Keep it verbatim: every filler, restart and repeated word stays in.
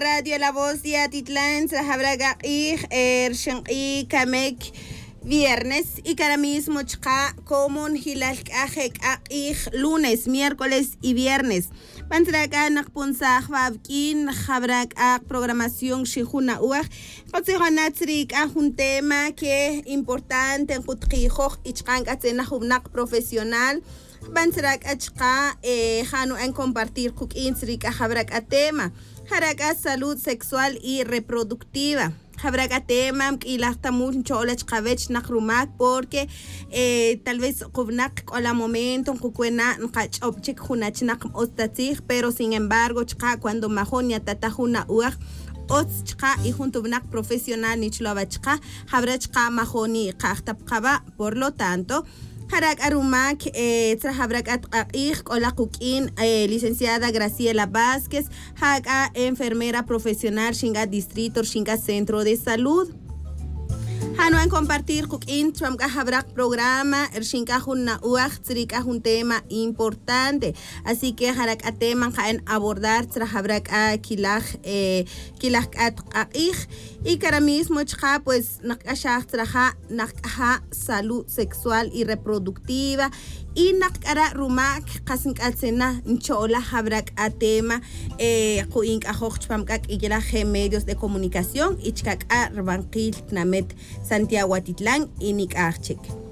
Radio La Voz de Atitlán, Habraga er Kamek viernes y cada mismo chqa comun hilal k'aj lunes, miércoles y viernes. Pantraka naqpunsaj babkin jabrak programación xijuna uaj qotzijonatzrik un tema que importante en qutqijoj y chqan k'atzena jubnaq profesional. Bantrak achqa eh, janu en compartir quk'in tzrik jabrak tema. Jaraka salud sexual y reproductiva. Habrá tema mk'ilaj chola chqawech naq rumak porque eh, tal vez qubnaq k'ola momento nqukwena nqach'ob chik junachnaq ostatzij, pero sin embargo chqa cuando majon ya tata juna uaj otz chqa y junto bnaq profesional nichloba chqa habrá chqa majoni qajtapqaba. Por lo tanto, Harak Arumak, eh, Trahabrak Atqaqij, Kola Kukin, eh, licenciada Graciela Vázquez, Haka, enfermera profesional, Shinga Distrito, Shinga Centro de Salud. Hanuan compartir kukin chwamka habrak programa ershinka junna uaj tzrika un tema importante. Así que harak tema en abordar trahabrak a kilaj eh, kilaj atqaqij y cara mismo chqa pues naqashaj traja naqaja salud sexual y reproductiva y naqkara rumak qasink'atzena nchola habrak a tema eh, qu'ink ajoj chpamk'ak ikilaj medios de comunicación y chkak'a rbanqil tnamet Santiago Atitlán y Nik'ajchik.